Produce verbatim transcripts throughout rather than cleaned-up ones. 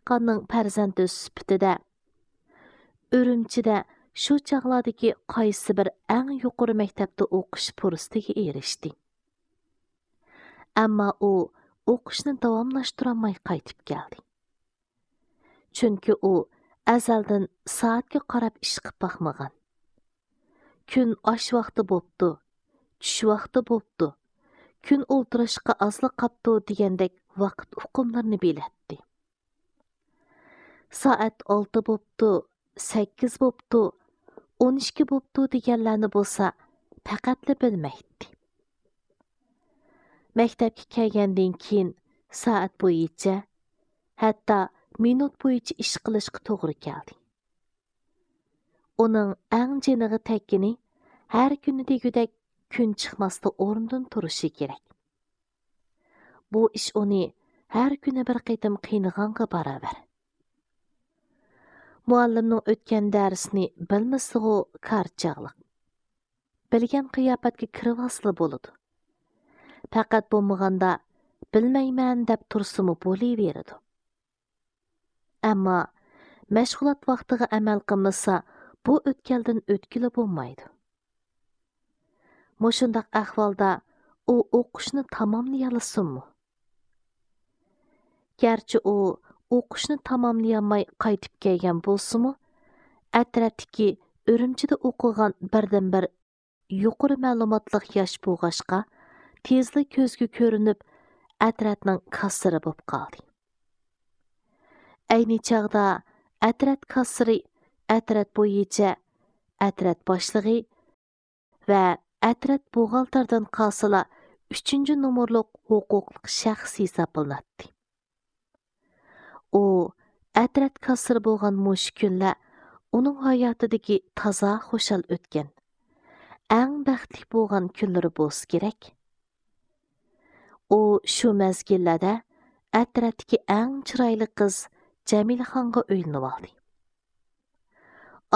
دېھقاننىڭ پەرزەنتى سۈپىتىدە ئۈرۈمچىدە شۇ چاغلاردىكى قايسى بىر ئەڭ يۇقىرى مەكتەپتە ئوقۇش پۇرسىتىگە ئېرىشتى. ئەمما ئۇ ئوقۇشنى داۋاملاشتۇرالماي قايتىپ كەلدى. چۈنكى ئۇ ئەزەلدىن سائەتكە قاراپ ئىش قىپ باقمىغان. كۈن ئاش ۋاقتى بوپتۇ، چۈش ۋاقتى بوپتۇ، كۈن ئولتۇرۇشقا ئازلا قاپتۇ دېگەندەك ۋاقىت ئۇقۇملىرىنى بىلەتتى. سائەت ئالتە بوپتۇ، سەككىز بوپتۇ، ئون ئىككى بوپتۇ دېگەنلەرنى بولسا پەقەتلا بىلمەيتتى. مەكتەپكە كەلگەندىن كېيىن سائەت بويىچە، ھەتتا مىنۇت بويىچە ئىش قىلىشقا توغرا كەلدى. ئۇنىڭ ئەڭ جېنىغا تەگكىنى ھەر كۈنى دېگۈدەك كۈن چىقماستا ئورنىدىن تۇرۇشى كېرەك. بۇ ئىش ئۇنى ھەر كۈنى بىر قېتىم قىينىغانغا باراۋەر. مۇئەللىمنىڭ ئۆتكەن دەرسىنى بىلمىسىغۇ كارچاغلىق. بىلگەن قىياپەتكە كىرىۋالسىلا بولىدۇ. پەقەت بولمىغاندا بىلمەيمەن دەپ تۇرسىمۇ بولۇۋېرىدۇ. ئەمما مەشغۇلات ۋاقتىغا ئەمەل قىلمىسا، بۇ ئۆتكەلدىن ئۆتكىلى بولمايدۇ. مۇشۇنداق ئەھۋالدا ئۇ ئوقۇشنى تاماملىيالىسۇنمۇ؟ گەرچە ئۇ ئوقۇشنى تاماملىيالماي قايتىپ كەلگەن بولسىمۇ، ئەترەتتىكى ئۈرۈمچىدە ئوقۇغان بىردىنبىر يۇقىرى مەلۇماتلىق ياش بولغاچقا، تېزلا كۆزگە كۆرۈنۈپ، ئەترەتنىڭ كاسسىرى بولۇپ قالدى. ئەينى چاغدا ئەترەت كاسسىرى، ئەترەت بويىچە ئەترەت باشلىقى ۋە ئەترەت بوغالتىرىدىن قالسىلا ئۈچىنچى نومۇرلۇق ھوقۇقلۇق شەخس ھېسابلىناتتى. ئۇ ئەترەت كاسسىرى بولغان مۇشۇ كۈنلەر ئۇنىڭ ھاياتىدىكى تازا خۇشال ئۆتكەن، ئەڭ بەختلىك بولغان كۈنلىرى بولسا كېرەك. ئۇ شۇ مەزگىللەردە ئەترەتتىكى ئەڭ چىرايلىق قىز جەمىلىخانغا ئۆيلىنىۋالدى.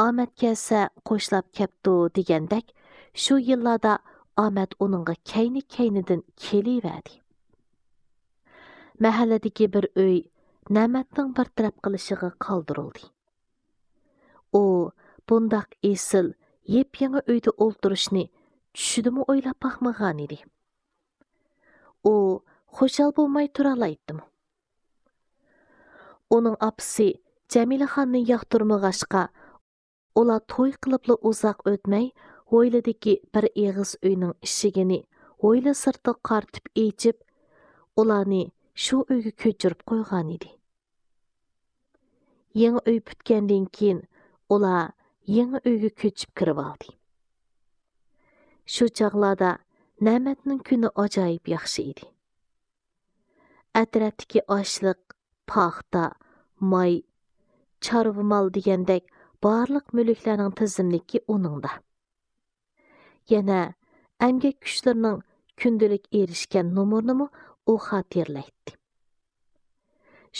ئامەت كەلسە قوشلاپ كەپتۇ دېگەندەك، شۇ يىللاردا ئامەت ئۇنىڭغا كەينى-كەينىدىن كېلىۋەردى. مەھەللىدىكى بىر ئۆي نەمەتنىڭ بىر تەرەپ قىلىشىغا قالدۇرۇلدى. ئۇ بۇنداق ئېسىل، يېپيېڭى ئۆيدە ئولتۇرۇشنى چۈشىدىمۇ ئويلاپ باقمىغانىدى. ئۇ خۇشال بولماي تۇرالايتتىمۇ؟ ئۇنىڭ ئاپىسى جەمىلىخاننى ياقتۇرمىغاچقا، ئۇلار توي قىلىپلا ئۇزاق ئۆتمەي، ھويلىدىكى بىر ئېغىز ئۆينىڭ ئىشىكىنى ھويلا سىرتىغا قارىتىپ ئېچىپ، ئۇلارنى شۇ ئۆيگە كۆچۈرۈپ قويغانىدى. يېڭى ئۆي پۈتكەندىن كېيىن، ئۇلار يېڭى ئۆيگە كۆچۈپ كىرىۋالدى. شۇ چاغلاردا نەمەتنىڭ كۈنى ئاجايىپ ياخشى ئىدى. ئەترەتتىكى ئاشلىق، پاختا، ماي، چارۋا مال دېگەندەك بارلىق مۈلۈكلەرنىڭ تىزىملىكى ئۇنىڭدا. يەنە ئەمگەك كۈچلىرىنىڭ كۈندىلىك ئېرىشكەن نومۇرىنىمۇ ئۇ خاتىرىلەيتتى.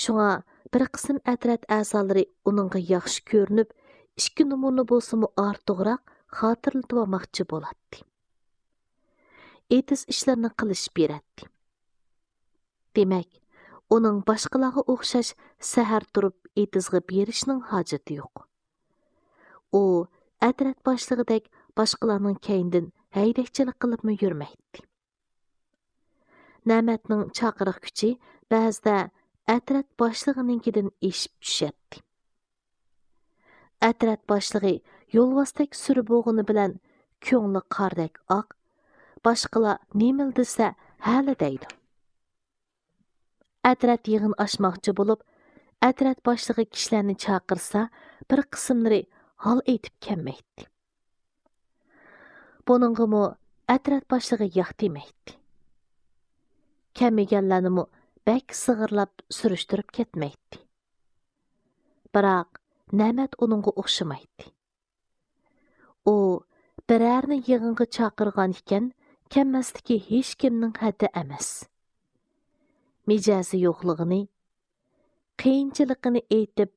شۇڭا بىر قىسىم ئەترەت ئەزالىرى ئۇنىڭغا ياخشى كۆرۈنۈپ، ئىككى نومۇرنى بولسىمۇ ئارتۇقراق خاتىرىلىتىۋالماقچى بولاتتى. ئېتىز ئىشلىرىنى قىلىشىپ بېرەتتى. دېمەك، ئۇنىڭ باشقىلارغا ئوخشاش سەھەر تۇرۇپ ئېتىزغا بېرىشنىڭ ھاجىتى يوق. ئۇ ئەترەت باشلىقىدەك باشقىلارنىڭ كەينىدىن ھەيدەكچىلىك قىلىپمۇ يۈرمەيتتى. نەمەتنىڭ چاقىرىق كۈچى بەزىدە ئەترەت باشلىقىنىڭكىدىن ئېشىپ چۈشەتتى. ئەترەت باشلىقى يولۋاستەك سۈرە بولغىنى بىلەن كۆڭلى قاردەك ئاق، باشقىلار نېمىلا دېسە ھەلە دەيدۇ. ئەترەت يىغىن ئاچماقچى بولۇپ، ئەترەت باشلىقى كىشىلەرنى چاقىرسا، بىر قىسىملىرى ھال ئېيتىپ كەلمەيتتى. بۇنىڭغىمۇ ئەترەت باشلىقى ياق دېمەيتتى. كەلمىگەنلەرنىمۇ بەك سىغىرلاپ سۈرۈشتۈرۈپ كەتمەيتتى. بىراق، نەمەت ئۇنىڭغا ئوخشىمايتتى. ئۇ بىرەرنى يىغىنغا چاقىرغان ئىكەن، كەلمەسلىكى ھېچكىمنىڭ ھەددى ئەمەس. مىجەزى يوقلۇقىنى، قىيىنچىلىقىنى ئېيتىپ،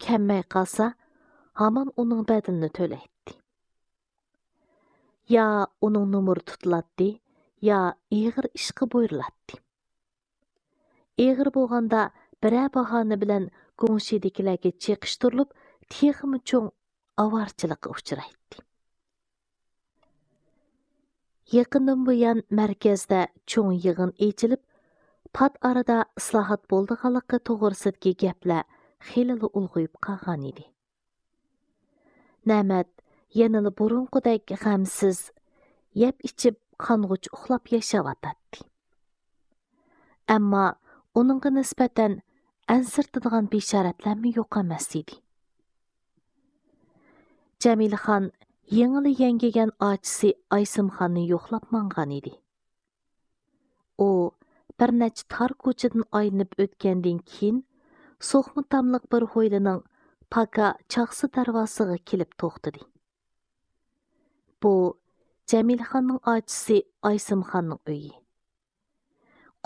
كەلمەي قالسا، ھامان ئۇنىڭ بەدىلىنى تۆلەيتتى. يا ئۇنىڭ نومۇرى تۇتۇلاتتى، يا ئېغىر ئىشقا بۇيرۇلاتتى. ئېغىر بولغاندا بىرەر باھانە بىلەن گۇڭشىدىكىلەرگە چېقىشتۇرۇلۇپ، تېخىمۇ چوڭ ئاۋارىچىلىققا ئۇچرايتتى. يېقىندىن بۇيان مەركەزدە چوڭ يىغىن ئېچىلىپ، پات ئارىدا ئىسلاھات بولىدىغانلىقى توغرىسىدىكى گەپلەر خېلىلا ئۇلغىيىپ قالغانىدى. نەمەت يەنىلا بۇرۇنقىدەك غەمسىز، يەپ-ئىچىپ، قانغۇچە ئۇخلاپ ياشاۋاتاتتى. ئەمما ئۇنىڭغا نىسبەتەن ئەنسىرىتىدىغان بېشارەتلەرمۇ يوق ئەمەس ئىدى. جەمىلىخان يېڭىلا يەڭگىگەن ئاچىسى ئايسىمخاننى يوقلاپ ماڭغان ئىدى. ئۇ بىر نەچچە تار كوچىدىن ئايلىنىپ ئۆتكەندىن كېيىن، سوقما تاملىق بىر ھويلىنىڭ پاكا چاقسا دەرۋازىسىغا كېلىپ توختىدى. بۇ جەمىلىخاننىڭ ئاچىسى ئايسىمخاننىڭ ئۆيى.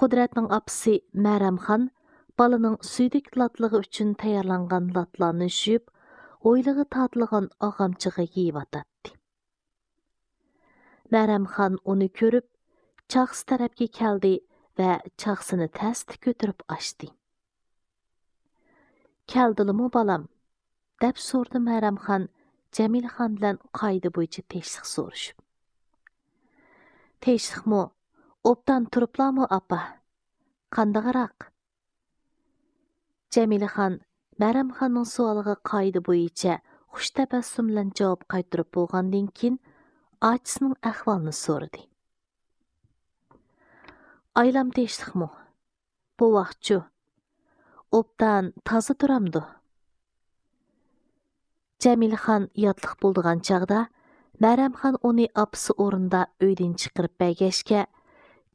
قۇدرەتنىڭ ئاپىسى مەرەمخان بالىنىڭ سۈيدۈك لاتلىقى ئۈچۈن تەييارلانغان لاتلارنى يۇيۇپ، ھويلىغا تارتىلغان ئاغامچىغا يېيىۋاتاتتى. مەرەمخان ئۇنى كۆرۈپ، چاقسا تەرەپكە كەلدى ۋە چاقسىنى تەستە كۆتۈرۈپ ئاچتى. «كەلدىلىمۇ، بالام؟» دەپ سورىدى مەرەمخان جەمىلىخان بىلەن قائىدە بويىچە تىنچلىق سورىشىپ. «تىنچلىقمۇ؟ ئوبدان تۇرۇپلامۇ، ئاپا؟ قانداقراق؟» جەمىلىخان مەرەمخاننىڭ سوئالىغا قائىدە بويىچە خۇش تەبەسسۇم بىلەن جاۋاب قايتۇرۇپ بولغاندىن كېيىن، ئاچىسىنىڭ ئەھۋالىنى سورىدى. «ئايلام تىنچلىقمۇ؟ بوۋاقچۇ؟ ئوبدان تازا تۇرامدۇ؟» جەمىلىخان ياتلىق بولىدىغان چاغدا مەرەمخان ئۇنى ئاپىسى ئورنىدا ئۆيدىن چىقىرىپ بەرگەچكە،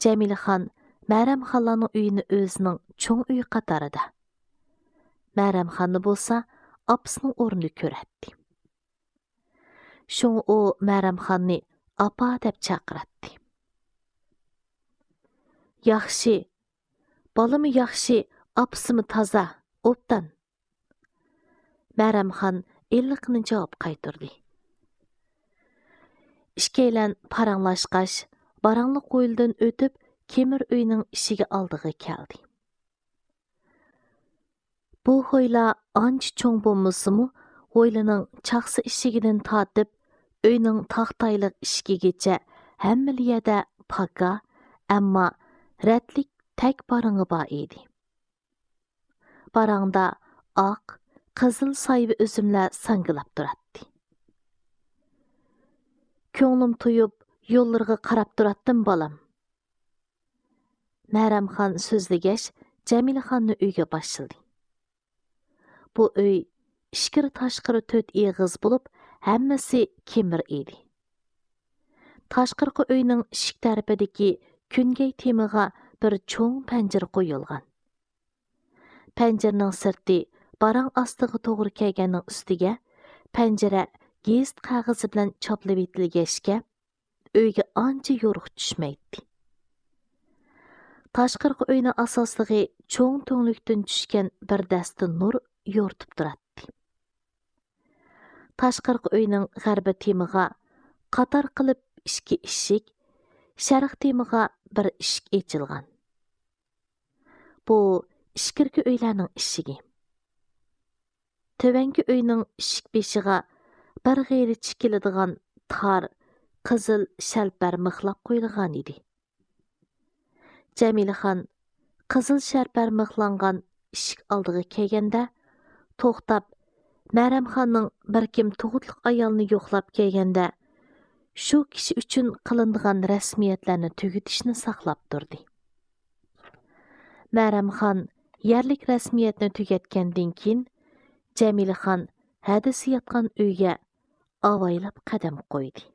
جەمىلىخان مەرەمخانلارنىڭ ئۆيىنى ئۆزىنىڭ چوڭ ئۆيى قاتارىدا، مەرەمخاننى بولسا ئاپىسىنىڭ ئورنىدا كۆرەتتى. شۇڭا ئۇ مەرەمخاننى «ئاپا» دەپ چاقىراتتى. «ياخشى، بالىمۇ ياخشى، ئاپىسىمۇ تازا، ئوبدان.» مەرەمخان ئىللىقىنى جاۋاب قايتۇردى. ئىككىيلەن پاراڭلاشقاچ، باراڭلىق ھويلىدىن ئۆتۈپ، كېمىر ئۆينىڭ ئىشىكى ئالدىغا كەلدى. بۇ ھويلا ئانچە چوڭ بولمىسىمۇ، ھويلىنىڭ چاقسا ئىشىكىدىن تارتىپ، ئۆينىڭ تاختايلىق ئىشىكىگىچە ھەممىلا يەردە پاكا، ئەمما رەتلىك تەك باراڭى بار ئىدى. باراڭدا ئاق، قىزىل سايۋا ئۈزۈملەر ساڭگىلاپ تۇراتتى. «كۆڭلۈم تويۇپ، يوللىرىغا قاراپ تۇراتتىم، بالام.» مەرەمخان سۆزلىگەچ، جەمىلىخاننى ئۆيگە باشلىدى. بۇ ئۆي ئىچكىرى تاشقىرى تۆت ئېغىز بولۇپ، ھەممىسى كېمىر ئىدى. تاشقىرىقى ئۆينىڭ ئىشىك تەرىپىدىكى كۈنگەي تېمىغا بىر چوڭ پەنجىرە قويۇلغان. پەنجىرىنىڭ سىرتى باراڭ ئاستىغا توغرا كەلگەننىڭ ئۈستىگە پەنجىرە گېزىت قەغىزى بىلەن چاپلىۋېتىلگەچكە، ئۆيگە ئانچە يورۇق چۈشمەيتتى. تاشقىرىقى ئۆينىڭ ئاساسلىقى چوڭ تۈڭلۈكتىن چۈشكەن بىر دەستە نۇر يورۇتۇپ تۇراتتى. تاشقىرىقى ئۆينىڭ غەربىي تېمىغا قاتار قىلىپ ئىككى ئىشىك، شەرقىي تېمىغا بىر ئىشىك ئېچىلغان. بۇ ئىچكىرىكى ئۆيلەرنىڭ ئىشىكى. تۆۋەنكى ئۆينىڭ ئىشىك بېشىغا بىر غېرىچە كېلىدىغان تار قىزىل شەلپەر مىخلاپ قويۇلغانىدى. جەمىلىخان قىزىل شەلپەر مىخلانغان ئىشىك ئالدىغا كەلگەندە، توختاپ، مەرەمخاننىڭ بىر كىم تۇغۇتلۇق ئايالنى يوقلاپ كەلگەندە، شۇ كىشى ئۈچۈن قىلىنىدىغان رەسمىيەتلەرنى تۈگىتىشنى ساقلاپ تۇردى. مەرەمخان يەرلىك رەسمىيەتنى تۈگەتكەندىن كېيىن، جەمىلىخان ھەدىسى ياتقان ئۆيگە ئاۋايلاپ قەدەم قويدى.